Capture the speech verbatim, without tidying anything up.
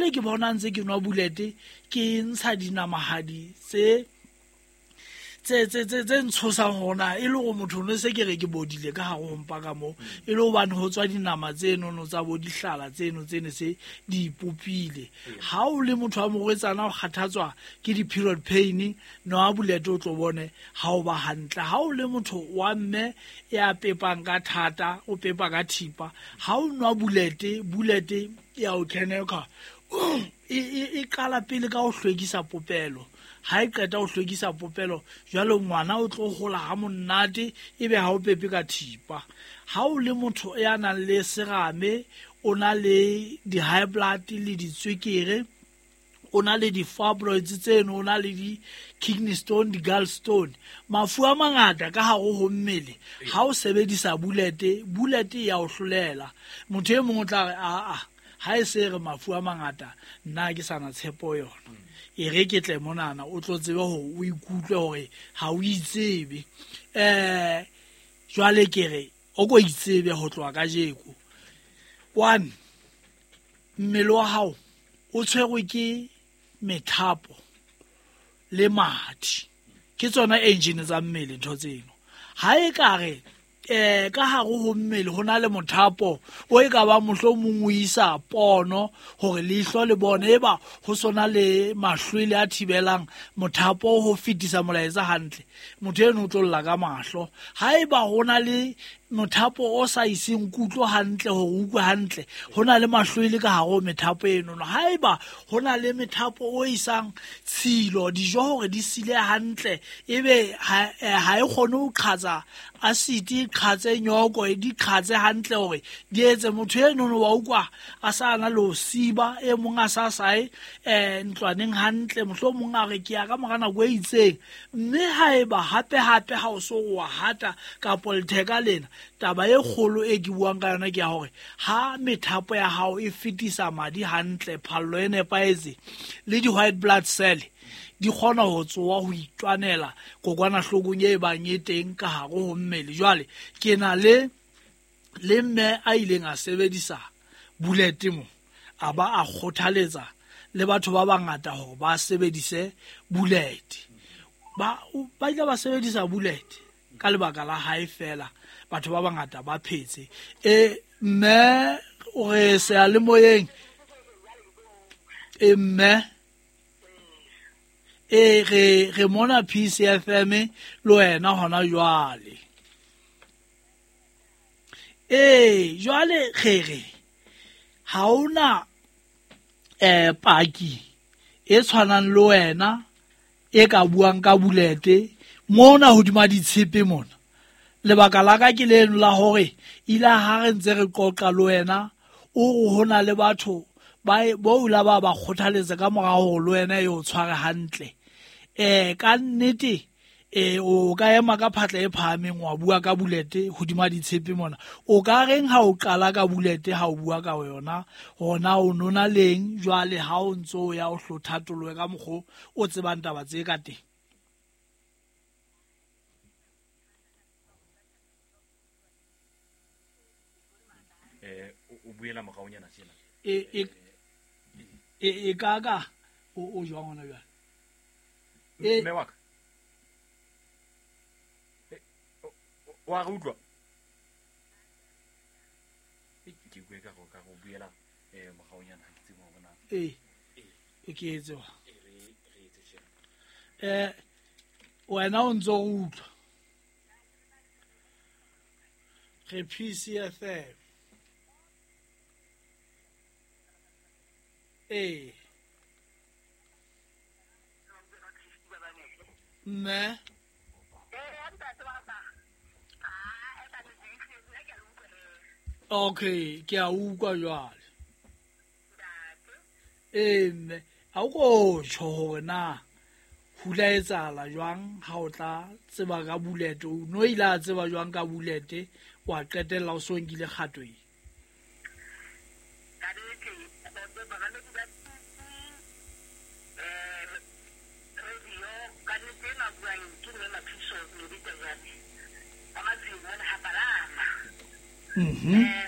Jwale ke bona ntse ke nwa bulete ke ntsha dinamahadi tse tse tse tse tse ntshosang hona e le hore motho no se ke re ke bodile ka hare ho mpa ka mo e le hobane ho tswa dinama tseno no tsa bo dihlala tseno tsene se di ipopile. Ha o le motho wa morwetsana o kgathatswa ke di-period pain, nwa bulete o tlo bone ha o ba hantle. Ha o le motho wa mme ya pepang ka thata, o pepa ka thipa, ha o nwa bulete, bulete ya o keneka e e qala pele ka ho hlwekisa popelo. Ha e qeta ho hlwekisa popelo jwale ngwana o tlo hola ha monate ebe ha o pepe ka thipa. Ha o le motho ya nang le serame, o na le di-high blood le ditswekere, o na le di-fibroids tseno, o na le di-kidney stone, di-gallstone, mafu a mangata ka hare ho mmele. Ha o sebedisa bulete, bulete ya o hlolela. Motho e mong o tla re a a ha e se re mafu a mangata nna ke sana tshepo yona, e re ke tle monana o tlo tsebe hore o ikutlwe hore ha o itsebe. Eh jwale ke re o ko itsebe ho tloha kajeko. One, mmele wa hao o tshwerwe ke methapo le madi, ke tsona engine tsa mmele ntho tseno. Ha e ka re eh ka hare ho mmele ho na le mothapo o e ka ba mohlomong o isa pono hore leihlo le bone, eba ho sona le mahlwele a thibelang mothapo ho fetisa molaetsa hantle, motho eno o tlo lla ka mahlo. Ha eba ho na le mothapo o sa iseng kutlo hantle hore o utlwe hantle, ho na le mahlwele ka hare ho methapo eno. Ha eba ho na le methapo o isang tshilo dijo hore di sile hantle, ebe ha e kgone ho qhatsa acid, e qhatse nyoko, e di qhatse hantle hore di etse motho eno wa utlwa a sa na le ho siba, e mong a sa sae eh ntlwaneng hantle, mohlomong a re ke ya ka mora nako e itseng. Mme ha eba hape hape ha o so wa hata kapo letheka lena, taba e kgolo e ke buang ka yona ke ya hore ha methapo ya hao e fetisa madi hantle, phallo e nepahetse le di-white blood cell di kgona ho tsoa ho itwanela kokwanahlokong e bang e teng ka hare ho mmele. Jwale ke na le le mme a ileng a sebedisa bulete mo, a ba a kgothaletsa le batho ba bangata hore ba sebedise bulete. Ba ba ile ba sebedisa bulete ka lebaka la hae fela, batho ba bangata ba phetse. E mme o re seyalemoyeng, e mme e re re mona P C F M le wena hona jwale. E jwale re re ha ona eh paki e tshwanang le wena e ka buang ka bulete mona hodima ditshepe mona. Lebaka la ka ke leno la hore ile ha re ntse re qoqa le wena o re hona le batho ba bo la ba ba kgothaletsa ka mora hore le wena e o tshware hantle. Eh ka nnete eh o ka ema ka phatla e phahameng wa bua ka bulete hodima ditshepe mona. O ka reng ha o qala ka bulete ha o bua ka yona hona o nona leng jwale ha o ntso ya o hlothatoloe ka mokgo o tsebang taba tse ka teng? Eh o buela moraonyana tjena e e e e ka ka o o jwang hona jwale? E mme wa ka wa re utlwa ke bue ka go ka go buela eh moraonyana ke tsebo bona e e ke etse wa e re re etse tjena eh wena o ntso o utlwa re P C F M. Eh mme okay ke a utlwa jwale. Eh mme ha o ko tjho hore na hula etsahala jwang ha o tla tseba ka bulete, o no ile a tseba jwang ka bulete wa qetella o so nkile kgato e? Mhm.